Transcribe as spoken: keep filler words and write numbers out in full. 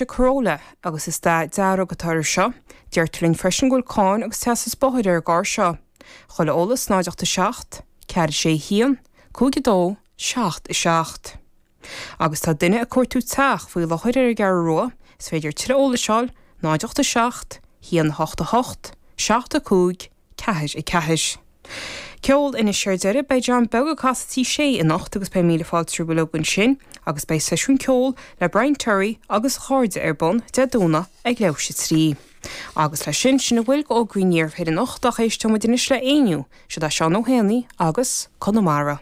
Corolla agus is dath dearg atá air seo. Deirtear linn freisin go bhfuil cáin agus teastas bóthair ar an gcarr seo. Chuile eolas náid ocht a seacht, ceathair sé haon, cúig a dó, seacht a seacht. Agus tá duine ag cuartú teach faoi láthair ar an gCeathrú Rua, is féidir tuilleadh eolais a fháil, náid ocht a seacht, haon a hocht a hocht, seacht a cúig, ceathair a ceathair. Ceol anois ar deireadh beidh John Beag ag casadh Tigh Sé anocht agus beidh míle fáilte roimh uilig ansin agus beidh seisiún ceoil le Brian Terry agus a chairde ar bun Dé Domhnaigh ag leathuair tar éis a trí. Agus leis sin sin a bhfuil d'fhógraí an Iarthair anocht ach éisteoidh muid anois le Éinniú, Siod é Seán Ó hÉanaí agus Conamara.